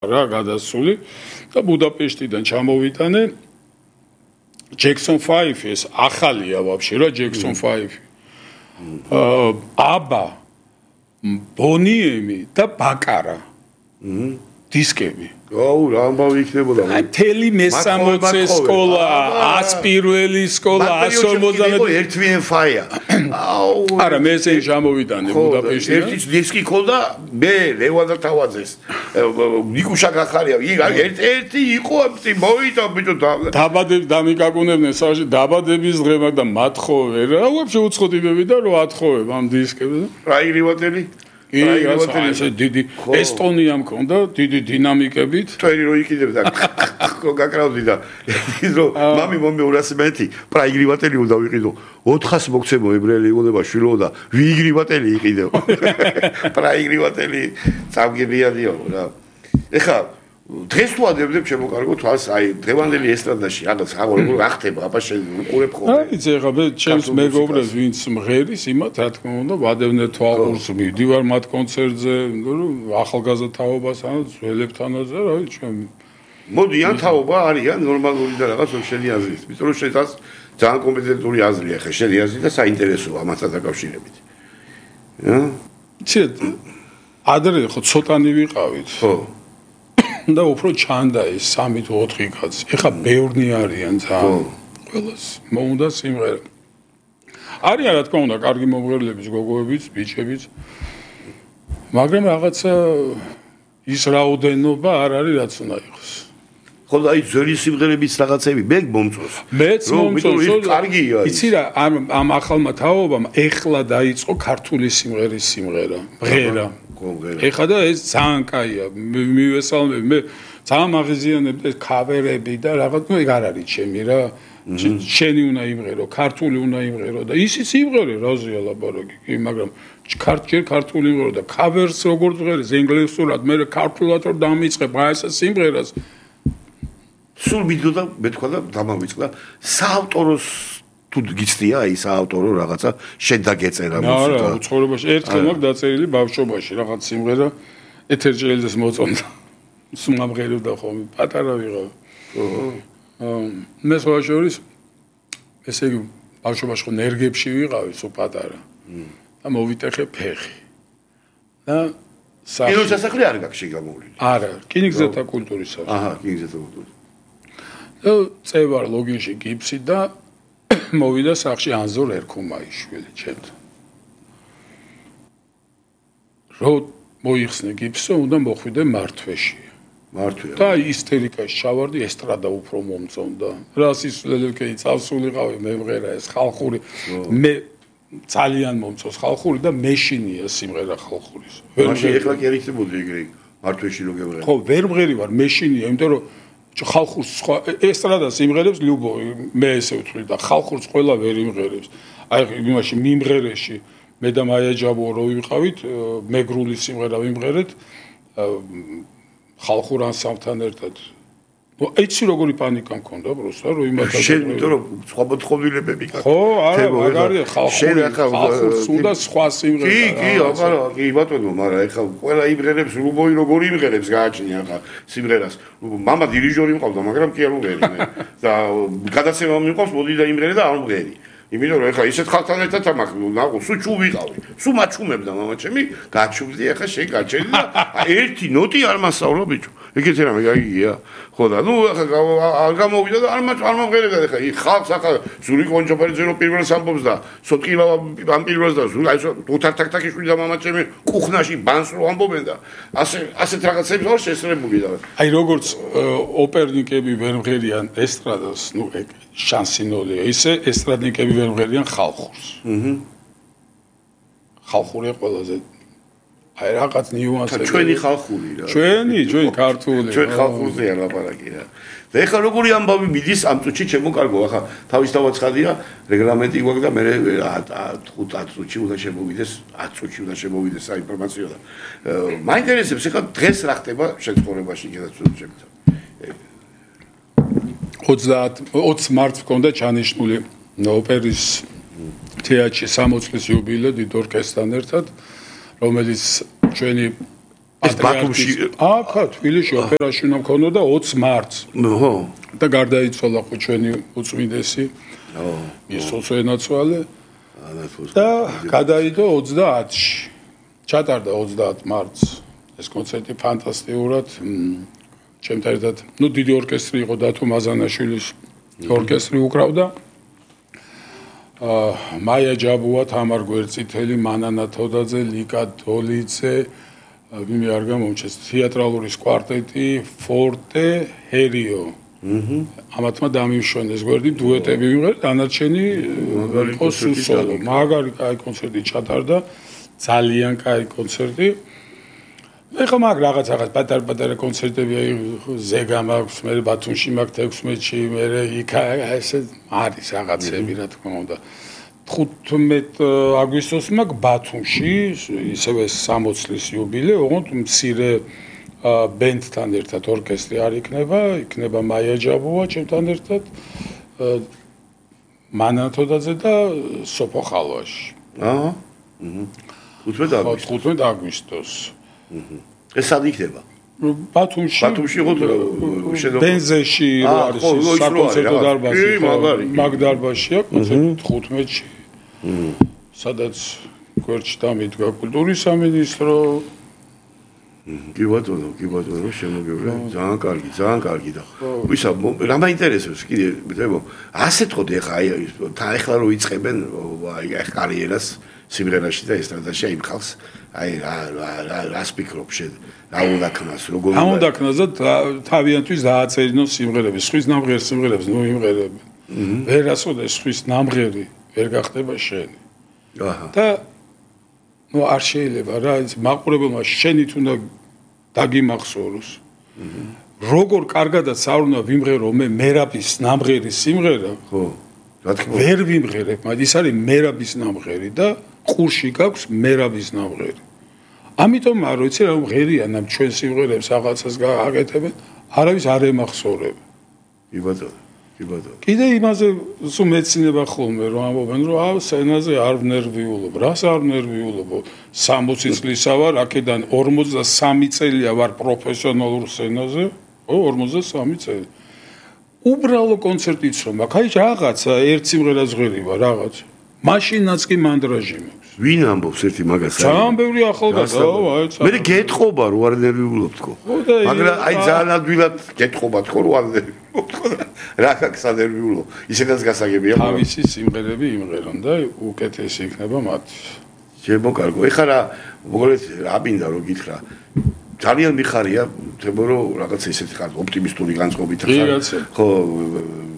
რა გადასული და ბუდაპეშტიდან ჩამოვიტანე Jackson 5 ეს ახალია ვაფშე რა Jackson 5 აბა ბონიემი და ბაკარა დისკები აუ რა ამბავი იქნებოდა თელი მე-60 სკოლა 100 პირველი სკოლა 150 ერთვიან ფაია აუ არა მე ესე ჩამოვიტანე ბუდაპეშტიდან ერთი დისკი ქონდა მე ლევან თავაძეს ნიკუშა გახარია ერთი იყო მოიტა ბიჭო დაბადები დამიკაკუნებდნენ სავში დაბადების დღე და მათხოვე რა ვაფშე უცხოთიბები და რო ათხოვებ ამ დისკებს რა იგრივატელი კი, ასე დიდი ესტონია მქონდა, დიდი დინამიკებით. თქვენი რო იყიდებდა, გაკრავდი და ის რო მამი მომეურასმენთი, პრაიგრივატელი უნდა ვიყიდო. 400 მოგცემო ებრაელი იყოდება შვილო და ვიგრივატელი იყიდო. პრაიგრივატელი წავგებიადიო რა. ეხა დღეს თუ ადებდებ შემოკარგო თვალს, აი დღევანდელი ესტრადაში რაღაც რა ხდება, აბა შენ უყურებ ხოლმე. აი ეხა მე ჩემს მეგობრებს ვინც მღერის, იმათ რა თქმა უნდა, ვადევნე თვალყურს მივდივარ მათ კონცერტზე, ახალგაზრდა თაობას ან ძველებთანაც რა ჩვენ მოდიან თაობა არიან ნორმალური და რაღაც შენი აზრით. იმიტომ რომ შენ ძალიან კომპეტენტური აზრია ხე, შენი აზრი და საინტერესოა მასთან დაკავშირებით. ცეთ ადრე ხო ცოტანი ვიყავით. ხო და უფრო ჩანდა ეს 3 თუ 4 კაცი. ეხა ბევრნი არიან ძალიან. ყველას მოუნდა სიმღერა. არიან რა თქმა უნდა, კარგი მომღერლებიც, გოგოებიც, ბიჭებიც. მაგრამ რაღაცა ის რაოდენობა არ არის რაც უნდა იყოს. ხო და აი ძველი სიმღერების რაღაცები მე მომწონს. მეც მომწონს, კარგია. იცი რა, ამ ახალმა თაობამ ეხლა დაიწყო ქართული სიმღერის სიმღერა, მღერა. ეხლა და ეს ძალიან კაია. მივესალმები, მე ძალიან აღიზიანებდი ეს ქავერები და რაღაც, ნუ ეგ არ არის ჩემი რა. შენი უნდა იმღერო, ქართული უნდა იმღერო და ისიც იმღერე, რაზეა ლაპარაკი, კი, მაგრამ ქართული იმღერო და ქავერს როგორც მღერის ინგლისურად, მე ქართულად რომ დამიწყებ აი ეს სიმღერას სულ მიდოდა მე თქვა და დამავიწყდა საავტოროს თუ გიცდია აი საავტორო რაღაცა შენ დაგეწერა მუსიკა არა ცხოვრებაში ერთხელ მაგ დაწერილი ბავშვობაში რაღაც სიმღერა ეთერჯელიძეს მოწონდა სუმამღეროდა ხოლმე პატარა ვიღავ მე სხვაშორის ესე იგი ბავშვობაში ხო ნერგებში ვიყავი სულ პატარა და მოვიტეხე ფეხი და კინოსასახლე არ გაქვს შეგამოვლილი არა რკინიგზათა კულტურის სახლი აჰა რკინიგზათა კულტურის წევარ ლოგინში გიფსი და მოვიდა სახში ანზორ ერქუმაიშვილი ჩემთან. რო მოიხსნე გიფსო, უნდა მოხვიდე მართვეში. მართვია. და ისტერიკაში ჩავარდი, ესტრადა უფრო მომწონდა. რა სისულელები წავსულიყავი მე მღერა ეს ხალხური. მე ძალიან მომწონს ხალხური და მეშინია სიმღერა ხალხურის. მაშინ ეხლა კი არიქნებოდი ეგრე მართვეში რო გეღერე. ხო, ვერ მღერი ვარ, მეშინია, იმიტომ რომ ხალხურს სხვა ესტრადას იმღერებს ლიუბოვი მე ესე ვთვლი და ხალხურს ყველა ვერ იმღერებს აი იმაში მიმღერეში მე და მაია ჯაბო რო ვიყავით მეგრული სიმღერა ვიმღერეთ ხალხურ ანსამბლთან ერთად ნუ იცი როგორი პანიკა მქონდა პროსტა რომ იმათა შენ იმიტომ რომ სხვა მოთხოვნილებები გაქვს ხო არა მაგარია ხალხურს უნდა სხვა სიმღერა კი აბა კი ბატონო მაგრამ ეხლა ყველა იმღერებს ლუბოვი როგორი იმღერებს გააჩნია ხა სიმღერას მამა დირიჟორი მყავდა მაგრამ კი არ მღერი მე და გადაცემა მიყვავს მოდი და იმღერე და არ მღერი იმიტომ რომ ეხლა ისეთ ხალხთან ერთად ამახ ნაყო სულ ჩუ ვიყავი სულ მაჩუმებდა მამა ჩემი გაჩუმდი ეხლა შენ გაჩერდი და ერთი ნოტი არ მასწავლა ბიჭო ეგეთი რამე გაიგია ხო და ნუ ეხლა არ გამოვიდა და არ მომღერებდა ეხლა ხალხს ახლა ზური კონჯოფერი ძერო პირველს ამბობს და სოტკილა ამ პირველს და ზური აი თუთართაკტაკიშვილი და მამა ჩემი კუხნაში ბანს რო ამბობენ და ასეთ რაღაცებს არ შესწრებული და აი როგორც ოპერნიკები ვერ მღერიან ესტრადას ნუ ეგ შანსინოლია ისე ესტრადნიკები ვერ მღერიან ხალხურს ხალხურია ყველაზე აი რაღაც ნიუანსები ჩვენი ხალხური რა ჩვენი ქართული ჩვენ ხალხურზეა ლაპარაკი რა და ეხლა როგორი ამბავი მიდის ამ წუთში ჩემო კარგო ახლა თავისთავად ცხადია რეგლამენტი გვაქვს და მე 5 წუთში უნდა შემოვიდეს 10 წუთში უნდა შემოვიდეს საინფორმაციო და მაინტერესებს ეხლა დღეს რა ხდება შეცხოვრებაში კიდევ ჩემთან 20 მარტს მქონდა ჩანიშნული ოპერის თეატრში 60 წლის იუბილე დიდ ორკესტრთან ერთად, რომელიც ჩვენი ეს ბათუმში აქ თბილისში ოპერაში უნდა მქონოდა 20 მარტს. ხო. და გარდაიცვალა ხო ჩვენი უწმინდესი. იესოს ენაცვალე. და გადაიდო 30-ში. ჩატარდა 30 მარტს. ეს კონცერტი ფანტასტიკურად ჩემთან ერთად, დიდი ორკესტრი იყო დათო მაზანაშვილის ორკესტრი უკრავდა. მაია ჯაბუა, თამარ გვერწითელი, მანანა თოდაძე, ლიკა დოლიძე, ვინმე არ გამომჩეს, თეატრალური კვარტეტი, ფორტე, ჰერიო. ამათმა დამიმშვენეს გვერდი დუეტები ვიღეთ, დანარჩენი იყო სოლო. მაგარი კაი კონცერტი ჩატარდა, ძალიან კაი კონცერტი. ეხლა მაგ რაღაცა პატარ-პატარა კონცერტები ზეგა მაქვს, მე ბათუმში მაქვს 16-ში, მე იქ ესე არის რაღაცები რა თქმა უნდა. 15 აგვისტოს მაქვს ბათუმში, ისევე 60 წლის იუბილე, ოღონდ მცირე ბენდთან ერთად ორკესტრი არ იქნება მაია ჯაბუა ჩემთან ერთად, მანა თოდაძე და სოფო ხალვაში. 15 აგვისტოს. ეს სად იქნება? ბათუმში იყო ბენზეში რო არის საკონცერტო დარბაზი. მაგ დარბაზშია კონცერტი 15-ში. სადაც გვერდში დამიდგა კულტურის სამინისტრო. კი ბატონო, შემოგევლე. ძალიან კარგი და ვისა, რა მაინტერესებს კიდე, მეთქო, ასე თქო ეხა ეხლა რო იწყებენ აი კარიერას სიმღერაში და ესტრადაში აი ხალხს აი რა სპიკრობ შენ რა უნდა ქნას როგორ უნდა ქნას და თავიანთვის დააწერინოს სიმღერები სხვის ნამღერ სიმღერებს ნუ იმღერებენ ვერასოდეს სხვის ნამღერი ვერ გახდება შენი და ნუ არ შეიძლება რა ის მაყურებელმა შენით უნდა დაგიმახსოვროს როგორ კარგადაც არ უნდა ვიმღერო მე მერაბის ნამღერი სიმღერა ხო რა თქმა ვერ ვიმღერებ მაგრამ ის არის მერაბის ნამღერი და ყურში გაქვს მერაბის ნამღერი. ამიტომ არ ვიცი რა მღერიან ამ ჩვენ სიმღერებს რაღაცას გააკეთებენ, არავის არ ემახსოვრება. კი ბატონო. კიდე იმაზე სულ მეცინება ხოლმე რომ ამბობენ რომ სცენაზე არ ვნერვიულობ. რას არ ვნერვიულობ? 60 წლისა ვარ, აქედან 43 წელია ვარ პროფესიონალურ სცენაზე. 43 წელი. უბრალო კონცერტიც რომ აქ აი რაღაცა ერთ სიმღერას ღერიბა რაღაცა. მაშინაც კი მანდრაჟი მაქვს. ვინ ამბობს ერთი მაგას? ძალიან ბევრი ახალგაზრდა, მე გეტყობა რო არ ნერვიულობ თქო. მაგრამ აი ძალიან ადვილად გეტყობა თქო რო არ ნერვიულობ თქო. რა აქვს ანერვიულო? ისედაც გასაგებია. თავისი სიმღერები იმღერონ და უკეთესი იქნება მათი. შემოკარგო. ეხლა რა მოგეთ რა მინდა რომ გითხრა. ძალიან მიხარია, თქო რომ რაღაც ისეთი ხარ ოპტიმისტური განწყობით ხარ. ხო,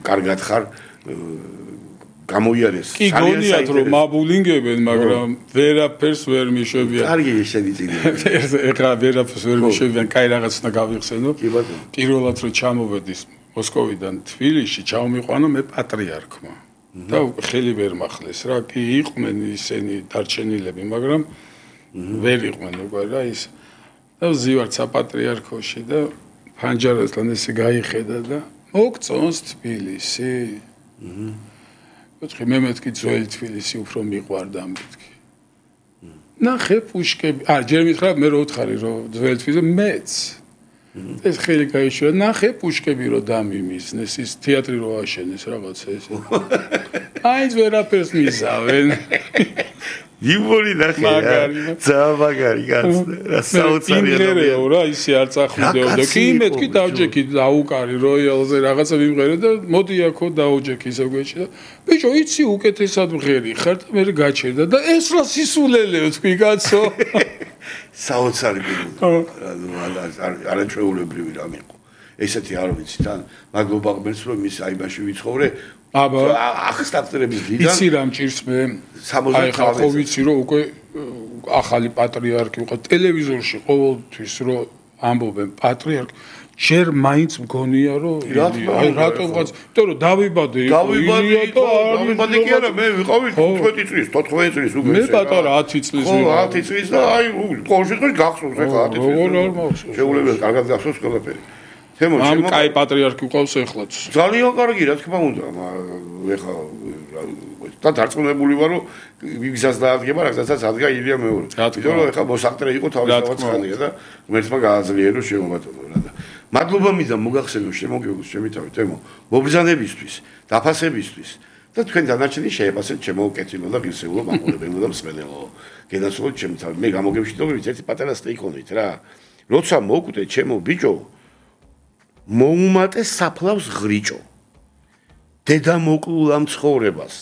კარგად ხარ. გამოიარეს. კი გონიათ რომ მაბულინგებენ, მაგრამ ვერაფერს ვერ მიშვებიან. კარგი შენი წინი. ეხლა ვერაფერს ვერ მიშვებიან, კაი რაღაც უნდა გავიხსენო. კი ბატონო. პირველად რომ ჩამოვედის მოსკოვიდან თბილისში, ჩავმიყვანო მე პატრიარქმა. და ხელი ვერ მახლეს რა, კი იყვნენ ისინი დარჩენილები, მაგრამ ვერ იყვნენ უკვე რა ის. და ვზივართ საპატრიარქოში და ფანჯარასთან ესე გაიხედა და მოგწონს თბილისი. ვთქვი მე მეთქი ძველი თბილისი უფრო მიყვარდა მეთქი. ნახე პუშკები, ჯერ მითხრა მე რო ვთხარი რომ ძველი თბილისი მეც. ეს ხელი გაიშვა, ნახე პუშკები რო დამიმიზნეს, ის თეატრი რო აშენეს რაღაცა ესე. აი ვერაფერს მიზავენ. იბორი ნახე რა. ძალიან მაგარი კაცი. რა საოცარი ადამიანია რა ისე არ წახვიდეოდა. კი მეთქი დავჯექი დაუკარი როიალზე რაღაცა ვიმღერე და მოდი აქო დაუჯექი ისე გვეჭი და ბიჭო იცი უკეთესად მღერი ხარ და მე გაჩერდა და ეს რა სისულელეო თქვი კაცო. საოცარი ბიჭო. არაჩვეულებრივი რამე იყო. ესეთი არ ვიცი თან მადლობა ღმერთს რომ ის აიბაში ვიცხოვრე. აბა ახსტაფტრების დიდან იცი რა მჭირს მე 60 ხალხი ხო ვიცი რომ უკვე ახალი პატრიარქი იყო ტელევიზორში ყოველთვის რომ ამბობენ პატრიარქი ჯერ მაინც მგონია რომ აი რატომღაც იმიტომ რომ დავიბადე დავიბადე კი არა მე ვიყავი 15 წლის 14 წლის უკვე მე პატარა 10 წლის ვიყავ 10 წლის და აი ყოველ შემთხვევაში გახსოვს ეხლა 10 წლის როგორ არ მახსოვს შეულებელია კარგად გახსოვს ყველაფერი ამ კაი პატრიარქი ყავს ეხლაც ძალიან კარგი რა თქმა უნდა ეხლა და დარწმუნებული ვარ რომ ვიგზას დაადგება რაღაცაც ადგა ილია მეორე იმიტომ რომ ეხლა მოსახტრე იყო თავისთავად ხანია და ღმერთმა გააძლიერო შემობატონო რა და მადლობა მინდა მოგახსენო შემოგეულოს ჩემი თავით ემო მობრძანებისთვის დაფასებისთვის და თქვენ დანარჩენი შეეპასეთ ჩემო კეთილო და ღირსეულო მაყურებელო და მსმენელო გენაცვლოთ ჩემი თავით მე გამოგებშიდობებით ერთი პატარა სტეიქონით რა როცა მოკვდე ჩემო ბიჭო მოუმატე საფლავს ღრიჭო დედა მოკლულა მცხოვრებას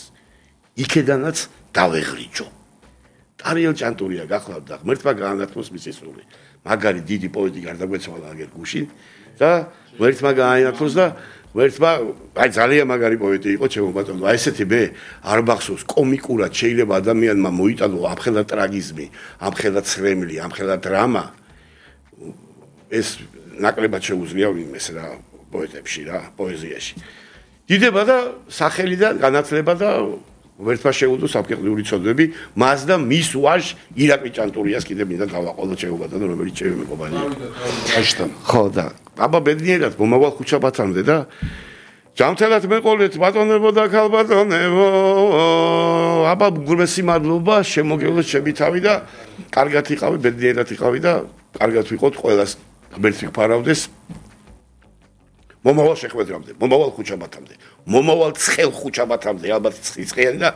იქედანაც დავეღრიჭო ტარიელ ჭანტურია გახლავთ და ღმერთმა გაანათმოს მისი სული მაგარი დიდი პოეტი გარდაგვეცვალა აგერ გუშინ და ღმერთმა გაანათმოს და ღმერთმა აი ძალიან მაგარი პოეტი იყო ჩემო ბატონო აი ესეთი მე არ მახსოვს კომიკურად შეიძლება ადამიანმა მოიტანო ამხელა ტრაგიზმი ამხელა ცრემლი ამხელა დრამა ეს ნაკლებად შეუძლია ვინმეს რა პოეტებში რა პოეზიაში დიდება და სახელი და განათლება და ვერთმა შეუდო საფრთხილური ცოდვები მას და მის ვაჟ ირაკლი ჭანტურიას კიდე მინდა დავაყოლო შეუბადო რომელიც ჩემი მეგობარია აშთან ხო და აბა ბედნიერად მომავალ ხუჩაბათამდე და ჯამთელად მეყოლეთ ბატონებო და ქალბატონებო აბა გულმესი მადლობა შემოგევლოთ ჩემი თავი და კარგად იყავი ბედნიერად იყავი და კარგად ვიყოთ ყველას ღმერთი გფარავდეს მომავალ შეხვედრამდე, მომავალ ხუჩაბათამდე, მომავალ ცხელ ხუჩაბათამდე, ალბათ ცხიანი და